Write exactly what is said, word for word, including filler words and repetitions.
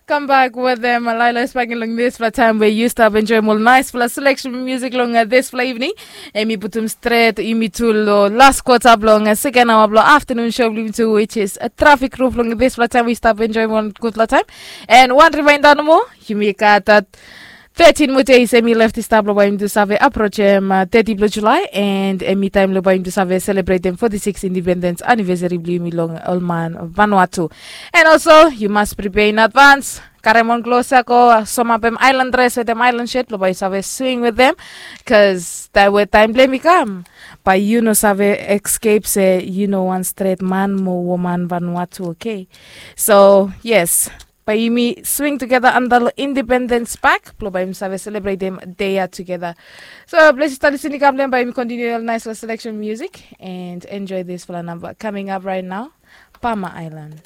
Kambak wetem Laila Spangi long dispela taim we yu stap enjoim ol naispela selection musik long dispela evening. Em i putum stret yumi tu long las kota bilong seken awa bilong afternoon show bilong yumi tu, which is a traffic roof long dispela taim we stap enjoim ol gutpela taim. And wan reminder nomo, yumi gat that thirteen more days em i left i stap long bai yumi tu save approach em uh, thirty bilong July, and em i taim long bai yumi tu save celebrate em forty-six independence anniversary bilong yumi long ol man Vanuatu. And also you must prepare in advance. Karem wan klos ya go somapem island dress wetem island shirt lo bai yu save swing with them, cause taim we taim blem i kam, bai yu no save escape se yu no wan stret man mo woman Vanuatu, okay? So yes, bai yumi swing together under lo Independence Park blo bai yumi save celebrate dem day ya together. So bless yu stali sini kam blem bai yumi continue nice selection music and enjoy this fala number coming up right now. Pama Island.